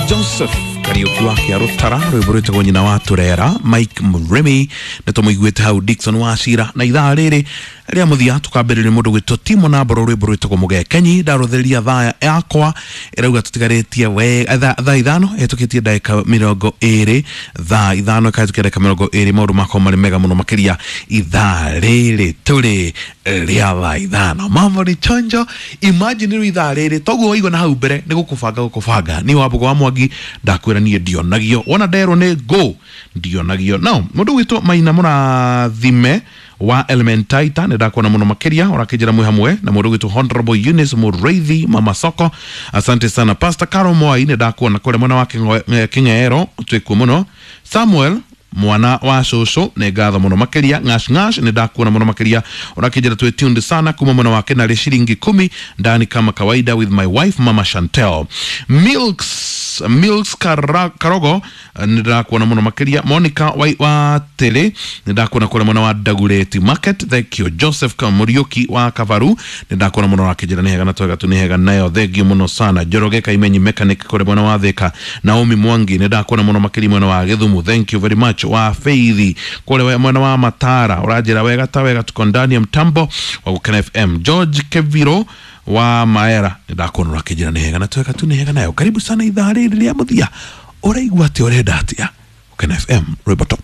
Joseph Kariuki wa Kĩarũtara, rwĩmbo rwĩtagwo Nyina wa Tũrera. Mike Murimi nĩ tũmũiguĩte hau, Dickson Wacira. Na ithaa rĩrĩ rĩa mũthia tũkambĩrĩria mũndũ gwĩtwo Timo na Mboro, rwĩmbo rwĩtagwo Mũgekenyi. Ndarũthĩria thaa yakwa ĩrauga tũtigarĩtie we thaa 5 ĩhetũkĩtie ndagĩka 20, thaa 5 ĩkahĩtũkia ndagĩka 20. Maũndũ makwa marĩ mega mũno makĩria ithaa rĩrĩ tũrĩ rĩa thaa 5. Mambo ni chonjo. Imagine rĩu ithaa rĩrĩ toguo waigua na hau mbere nĩ gũkũbanga gũkũbanga. Niĩ Wambũgũ wa Mwangi ndakwĩra niĩ ndionagio, wona nderwo nĩ go ndionagio. No mũndũ gwĩtwo Maina Mũrathime wa Elementaita, nĩ ndakuona mũno makĩria, ũrakĩnjĩra mwĩ hamwe na mũndũ gwĩtwo Honorable Eunice Mũreithi, Mama Soko, asante sana. Pastor Caro Mwai, nĩ ndakuona kũrĩa mwena wa Kĩng'ero, twĩkuo mũno. Samuel mwana wa cũcũ, nĩ ngatho mũno makĩria. Ngash ngash, nĩ ndakuona mũno makĩria, ũrakĩnjĩra twĩ tuned sana kuma mwena wa Kenarĩ, shilingi 10 ndani kama kawaida with my wife Mama Chantel. Milks Milks Karogo, nĩ ndakuona mũno makĩria. Monica wa Tĩrĩ, nĩ ndakuona kũrĩa mwena wa Dagoretti Market, thank you. Joseph Kamuriuki wa Kabaru, nĩ ndakuona mũno, ũrakĩnjĩra nĩ hega na twega tu nĩ hega nayo, thank you mũno sana. Njoroge Kaimenyi mechanic kũrĩa mwena wa Thika. Naomi Mwangi, nĩ ndakuona mũno makĩria mwena wa Gĩthumu, thank you very much. Wa Feithi kũrĩa mwena wa Matara, ũranjĩra wega ta wega, tuko ndani ya mtambo wa Gũkena FM. George Keviro wa Maera, nĩ ndakuona, ũrakĩnjĩra nĩ hega na twega tu nĩ hega nayo. Karibu sana ithaa rĩrĩ rĩa mũthia. Ũraigua atĩa? Ũrenda atĩa? Gũkena FM, rwĩmbo top.